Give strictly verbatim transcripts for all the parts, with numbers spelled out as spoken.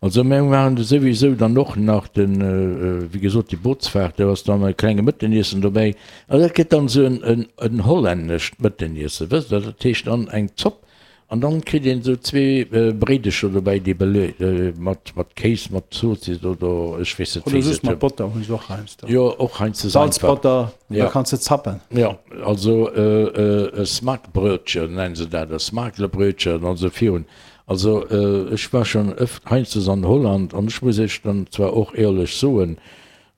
Also mir maachen de souwisou dann och nach den, wéi gesot, déi Bootsfaart, do ass dann e klenge Mëtteniessen dobäi. Also dat gëtt dann esou en en hollännescht Mëtteniessen, wësst Der, dat heescht dann eng Zopp an dann kritt een esou zwee Bréidecher dobäi, déi bele mat mat Kéis, mat Zoossiss oder ech weess net Oder wéi se soss et mat hunn. Botter hunn se och heiansdo. Jo, och heiansdo einfach. Salzbotter, da Ja. kanns de zappen. Jo, also e Smaakbrötchen nennen se dat, e Smaaklebrötchen an esou virun. Also ech war schonn ëft heianstes an Holland an ech muss Iech dann zwar och éierlech soen,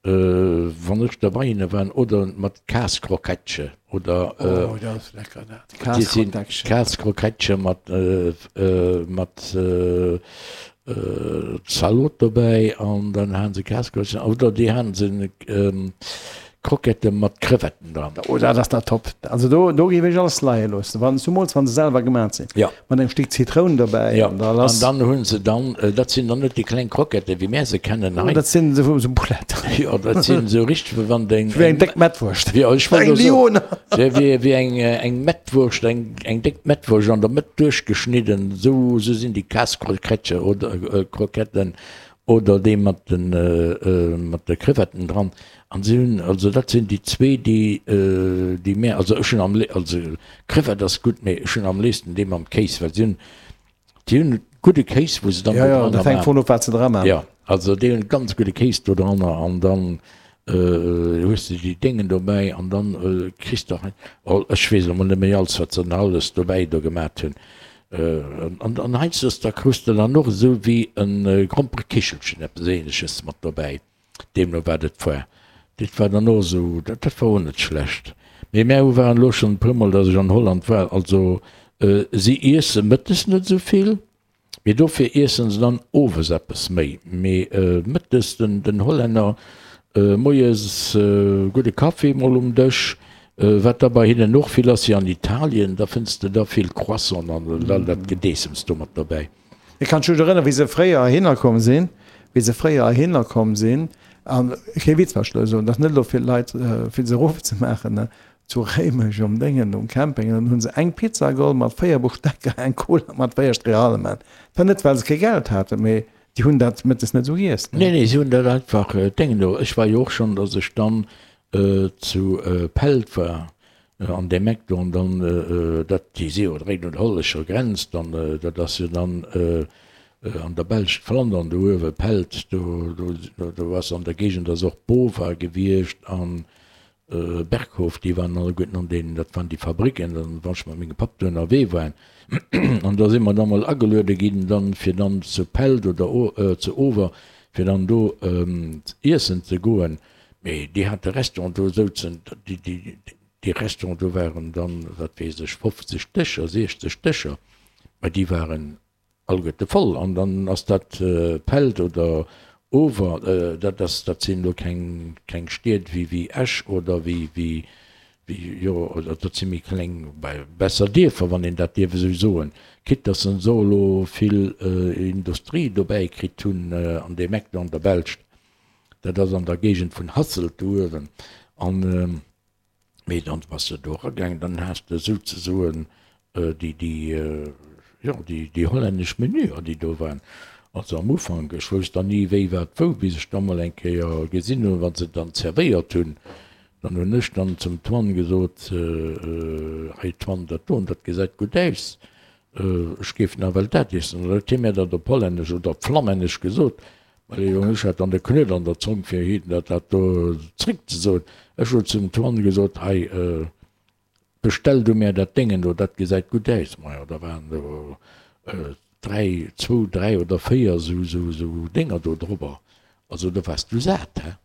wann ech da bei hinne war, oder mat Kaaskrokettche oder Oh, dat ass lecker dat, déi sinn Kaaskrokettchen. Kaaskrokettche mat mat Zalot dobäi an dann hate se Kaaskrokettchen oder déi hate se Krokette mat Crevetten dran. Oh, dat ass da top. Also do, do géif ech alles leie loossen, wann, zumools wann se selwer gemat sinn. Ja. Mat engem Stéck Zitroun dobäi Ja, an da an lass. dann hu se dann, dat sinn dann net déi kleng Krokette wéi mär se kennen Oh, hei. dat sinn esou esou Bouletten. Jo, dat sinn esou richteg, wéi wann deng. Wéi eng déck Mettwurscht. Jo, ech wollt Eng elo soen, Lyoner. wéi, wéi eng, eng Mettwurscht, eng, eng déck Mettwurscht an der Mëtt duerchgeschnidden, esou, esou sinn déi Kaaskrokettche oder Kroketten oder dee mat de mat de Crevetten dran. An si hunn, also dat sinn déi zwee, déi déi mär, also ech hunn am lé, also Crevette ass gutt, mee ech hunn am léifsten dee mam Kéis, well si hunn, déi hunn gudde Kéis, wou se dann Jo, do jo, dranner dat hänkt maachen. vun of, wat se dra maachen. Jo, also déi hunn ganz gudde Kéis do dranner an dann hues de déi Déngen dobäi an dann kriss de hei, oh ech weess elo mol net méi alles, wat se dann alles dobäi do gemat hunn. An an heiansdo da krus de dann och esou wéi e Gromperekichelchen, eppes Ähnleches mat dobäi, deemno wat et war. Dat war dann och esou, dat dat war och net schlecht. Mee mär hu waren elo schonn e puermol, datt ech an Holland war, also si iesse mëttes net esou vill, mee dofir iessen se dann owes eppes méi. Mee mëttes, den den Hollänner, Moies gudde Kaffi mol um Dësch, wat da bei hinnen och vill ass, wéi an Italien, da fënns de da vill Croissanten an all dat Gedeessems do mat dobäi. Ech kann mech just erënneren, wéi se fréier heihinner komm sinn, wéi se fréier heihinner komm sinn, an kee Witz, wat ech elo soen, dat ass net elo fir d'Leit, fir se erofzemaachen, ne, zu Réimech um Déngen, um Camping, an dann hu se eng Pizza geholl mat véier Boustecker, eng Cola mat véier Streehalmen. Dat war net, well se kee Geld haten, mee Déi hunn dat mëttes net esou giess, ne? Nee, nee, si hunn dat einfach Déngen do. Ech war jo och schonn, datt ech dann zu Pelt war, an deem Eck do, an dann, dat, déi si jo direkt un der hollännescher Grenz, dann, dat ass jo dann an der Belsch, Flandern do uewe, Pelt, do, do, do ass an der Géigend ass och Bova gewiescht an Berghof, déi waren alleguerten an deenen, dat waren déi Fabricken, dann, wann ech mat mengem Papp do ënnerwee war, an da si mer da mol ageluede ginn dann, fir dann zu Pelt oder zu Over, fir dann do iessen ze goen. Mee déi hate Restaurant, do souzen, déi, déi, déi Restaurant, do waren dann, wat weess ech, fofzeg Dëscher, siechzeg Dëscher, mä déi waren Alleguerte voll. An dann ass dat Pelt oder Over, dat ass, dat sinn elo keng, keng Stied wéi, wéi Esch oder wéi, wéi, wéi, jo, oder dat si méi kleng, besser Dierfer, wann een dat dierf esou soen. Quitte dass se och elo vill Industrie dobäi kritt hunn an deem Eck do an der Belscht. Dat ass an der Géigend vun Hasselt do uewen. An. Mee dann bass de do eragaangen, dann has de souzesoen déi, déi, jo, déi, déi hollännesch Menüer, déi do waren. Also am Ufank, ech wousst dann ni wéi, wat, wou, bis ech da mol eng Kéier gesinn hunn, wa se et dann zerwéiert hunn. Dann hunn ech dann zum Twan gesot, Hei Twan, dat doen, dat gesäit gutt aus, ech géif nawell dat iessen. An da huet hie mir dat op Hollännesch oder op Flammännesch gesot. Well jo, ech hat dann de Knuet an der Zong fir him dat dat do zréck ze soen. Ech hu zum Twan gesot, Hei, bestell du mär dat Déngen do, dat gesäit gutt aus. Majo, da waren do dräi, zwou, dräi oder véier esou, esou, esou Dénger do drobber. Also do waars du sat, hä?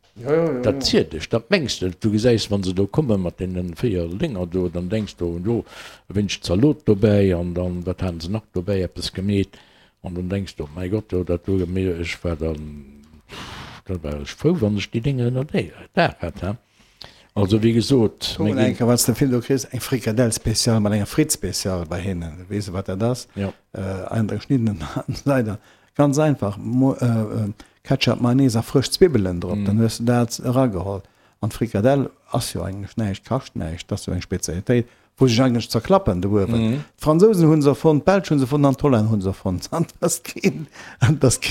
Dat ziert dech, dat mengs de net. Du gesäis, wa se do komme mat deene véier Dénger do, dann denks du, jo, e wéineg Zalot dobäi an dann, wat haten se nach dobäi, eppes gemeet. An dann denks de, mäi Gott, jo dat do, mee ech war dann, da war ech frou, wann ech déi Dénger ënner Daach hat, he. Also wéi gesot, Guck mir mol eng ginn. Kéier, wat s de vill do kriss, eng Frikadell spéciale mat enger Fritt spéciale bei hinnen. Du weess wat dat ass? Jo. An der geschniddenen Leider. Ganz einfach, Ketchup, Mayonnaise a frësch Zwibbelen drop, dann hues de dat erageholl. An d'Frikadell ass jo eigentlech näischt, kascht näischt, dat ass jo eng Spezialitéit, wou sech eigentlech zerklappen do uewen. D'Fransousen hu se erfonnt, d'Belsch hu se erfonnt an d'Hollänner hu se erfonnt. An et ass keen, an et ass keen.